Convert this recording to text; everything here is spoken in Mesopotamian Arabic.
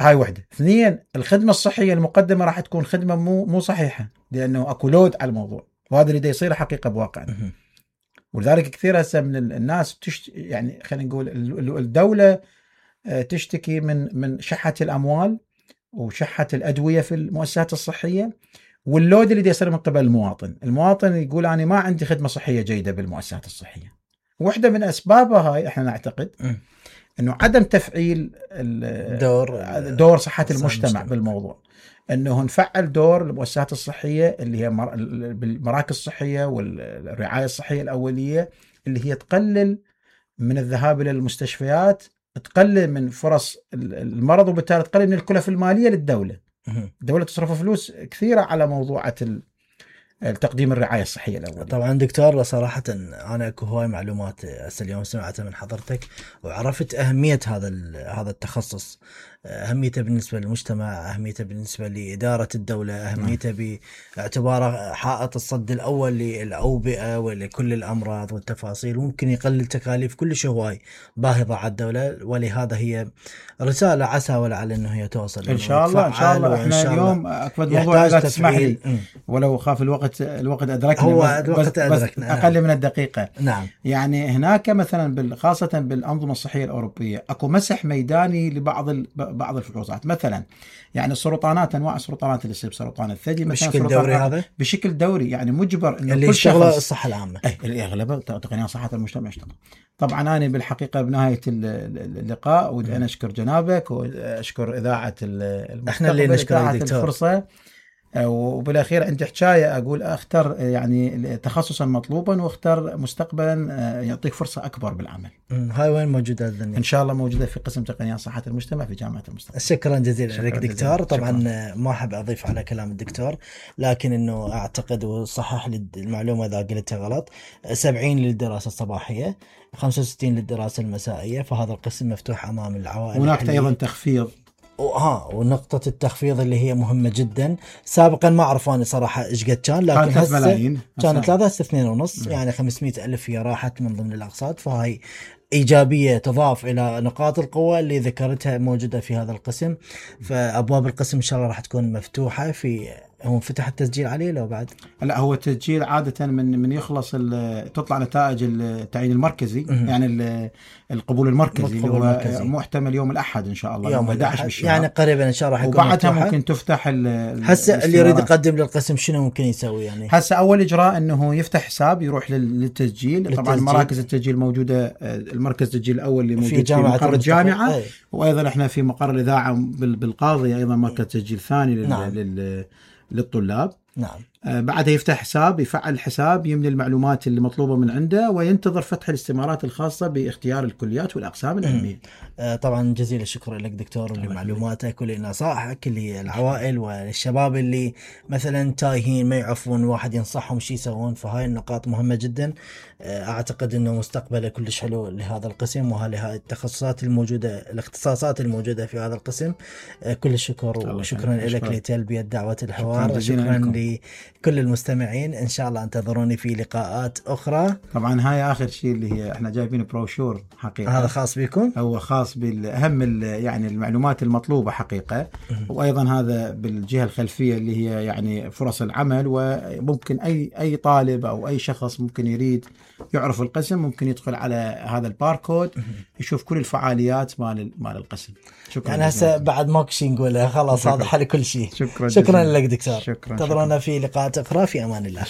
هاي وحده. اثنين، الخدمه الصحيه المقدمه راح تكون خدمه مو صحيحه، لانه اكو لود على الموضوع، وهذا اللي دا يصير حقيقه بواقعنا. ولذلك كثير هسه من الناس يعني خلينا نقول الدوله تشتكي من شحه الاموال وشحه الادويه في المؤسسات الصحيه، واللود اللي يصير من قبل المواطن يقول انا ما عندي خدمه صحيه جيده بالمؤسسات الصحيه. واحده من اسبابها هاي احنا نعتقد انه عدم تفعيل دور صحه المجتمع بالموضوع، انه نفعل دور المؤسسات الصحيه اللي هي بالمراكز الصحيه والرعايه الصحيه الاوليه، اللي هي تقلل من الذهاب الى المستشفيات، تقلل من فرص المرض، وبالتالي تقلل من الكلفه الماليه للدوله. الدوله تصرف فلوس كثيره على موضوعات تقديم الرعايه الصحيه الاوليه. طبعا دكتور صراحه انا اكو هواي معلومات هسه اليوم سمعتها من حضرتك، وعرفت اهميه هذا التخصص، اهميته بالنسبه للمجتمع، اهميته بالنسبه لاداره الدوله، اهميته باعتباره حائط الصد الاول للاوبئه ولكل الامراض والتفاصيل، وممكن يقلل تكاليف كلش هواي باهظه على الدوله. ولهذا هي رساله عسى ولعل انه هي توصل ان شاء الله. ان شاء الله احنا اليوم اكبر موضوع اذا تسمح لي، ولو خاف الوقت ادركنا، هو الوقت ادركنا اقل من الدقيقه. نعم. يعني هناك مثلا خاصه بالانظمه الصحيه الاوروبيه اكو مسح ميداني لبعض بعض الفحوصات. مثلا يعني السرطانات، انواع السرطانات اللي تصير سرطان الثدي مثلا بشكل دوري، هذا بشكل دوري، يعني مجبر انه اللي كل شخص الصحه العامه اللي اغلبه تقنيه صحه المجتمع يشتغل. طبعا انا بالحقيقه بنهايه اللقاء ودي انا اشكر جنابك واشكر اذاعه المستقبل، احنا اللي نشكرك دكتور. الفرصه. وبالاخير عندي حكايه اقول اختر يعني تخصصا مطلوبا، واختر مستقبلا يعطيك فرصه اكبر بالعمل. هاي وين موجوده الذنية؟ ان شاء الله موجوده في قسم تقنيات صحه المجتمع في جامعه المستقبل. شكرا جزيلا لك دكتور. طبعا ما احب اضيف على كلام الدكتور، لكن انه اعتقد وصحح لي المعلومه اذا قلتها غلط، 70 للدراسه الصباحيه، 65 للدراسه المسائيه، فهذا القسم مفتوح امام العوائل. هناك ايضا تخفيض، ونقطة التخفيض اللي هي مهمة جدا. سابقا ما أعرف أنا صراحة إيش قد كان، لكن هسه كانت 3 هسه 2.5، يعني 500,000 هي راحت من ضمن الأقساط، فهي إيجابية تضاف إلى نقاط القوة اللي ذكرتها موجودة في هذا القسم. فأبواب القسم إن شاء الله راح تكون مفتوحة. هو فتح التسجيل عليه لو بعد؟ لا، هو التسجيل عادة من يخلص تطلع نتائج التعيين المركزي، يعني القبول المركزي اللي هو محتمل يوم الأحد إن شاء الله، يوم 11 بالشهر، يعني قريبا إن شاء الله راح يكون وبعدها ممكن تفتح هسه اللي يريد يقدم للقسم شنو ممكن يسوي؟ يعني هسه أول إجراء إنه يفتح حساب يروح للتسجيل. طبعا مراكز التسجيل موجودة، المركز التسجيل الأول اللي موجود في مقر الجامعة، وأيضا إحنا في مقر الإذاعة بالقاضية أيضا مركز تسجيل ثاني للطلاب. نعم. بعدها يفتح حساب، يفعل الحساب، يملي المعلومات اللي مطلوبة من عنده، وينتظر فتح الاستمارات الخاصة باختيار الكليات والأقسام العلمية. طبعا جزيل الشكر لك دكتور لمعلوماتك ولنصائحك للعوائل والشباب اللي مثلا تايهين ما يعرفون واحد ينصحهم شي يسوون. فهاي النقاط مهمة جدا. أعتقد أنه مستقبله كلش حلو لهذا القسم وهذه التخصصات الموجودة، الاختصاصات الموجودة في هذا القسم. كل الشكر وشكرا لك لتلبية دعوة الحوار. شكرا لكل المستمعين. إن شاء الله انتظروني في لقاءات أخرى. طبعا هاي آخر شيء اللي هي احنا جايبين بروشور حقيقة، هذا خاص بكم، هو خاص بالأهم يعني المعلومات المطلوبة حقيقة، وأيضا هذا بالجهة الخلفية اللي هي يعني فرص العمل. وممكن أي طالب أو أي شخص ممكن يريد يعرف القسم ممكن يدخل على هذا الباركود يشوف كل الفعاليات مال القسم. شكرا. يعني هسه بعد ماكو شيء نقوله، خلاص هذا حل كل شيء. شكرا لك دكتور. انتظرونا في لقاءات أخرى. في أمان الله.